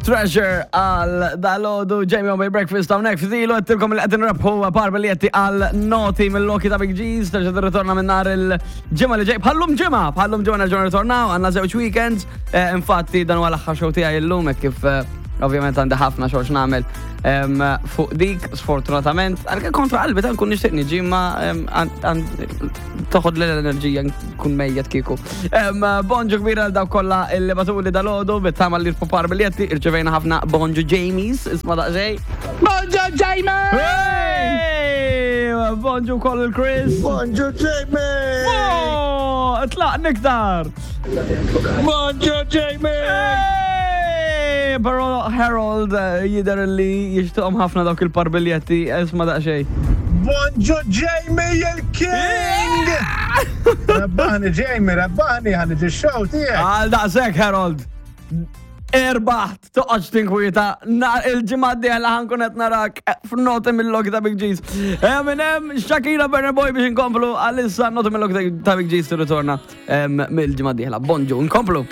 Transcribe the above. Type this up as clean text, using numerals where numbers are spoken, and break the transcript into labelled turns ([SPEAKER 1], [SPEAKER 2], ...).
[SPEAKER 1] Treasure għal dalodu Jamie on Breakfast hawnhekk ftilu għedtilkom li qed nrebħu par biljetti għal noti mill-Loki ta' Big G's terġa' tirritorna minn nhar il-ġimgħa li ġej. Bħallum ġimgħa, bħallum ġimgħa nerġgħu nirritornaw għandna żewġ weekends. Eh, infatti dan huwa l-aħħar show tiegħi llum hekk kif eh, ovvjament għandi ħafna xogħol x'nagħmel fuq dik sfortunatament. Għalkemm kontra qalbi ta' nkun nixtieq niġi ma toħod l-enerġija nkun mejjet kieku. Bonġu kbira għal dawk kollha illi batuli dal-għodu bit-tama li l-popar biljetti irċevejna ħafna bonġu Jamies, isma' daqsxejn.
[SPEAKER 2] Bonġu Jamie!
[SPEAKER 1] Bonġu koll il-Chris.
[SPEAKER 2] Bonġu Jamie!
[SPEAKER 1] Oh, tlaq niktar!
[SPEAKER 2] Bonġu Jamie!
[SPEAKER 1] Però Harold eh, jider li jixtuqhom ħafna dawk il-par biljetti, isma' daqsxejn.
[SPEAKER 2] Bonġu Jamie il-King! Rabbaħni Jamie, rabbaħni ħan iġi show tiegħek.
[SPEAKER 1] Għal daqshekk Harold. Erbaħt, toqgħodx tinkwieta, il-ġimgħa d-dieħla ħankun qed narak f'noti mill-log ta' Big G's. Eh, minn hemm Shakira Burner Boy biex inkomplu għalissa noti mill-log ta' Big G's tirritorna mill-ġimgħa d-dieħla. Bonġu, nkomplu.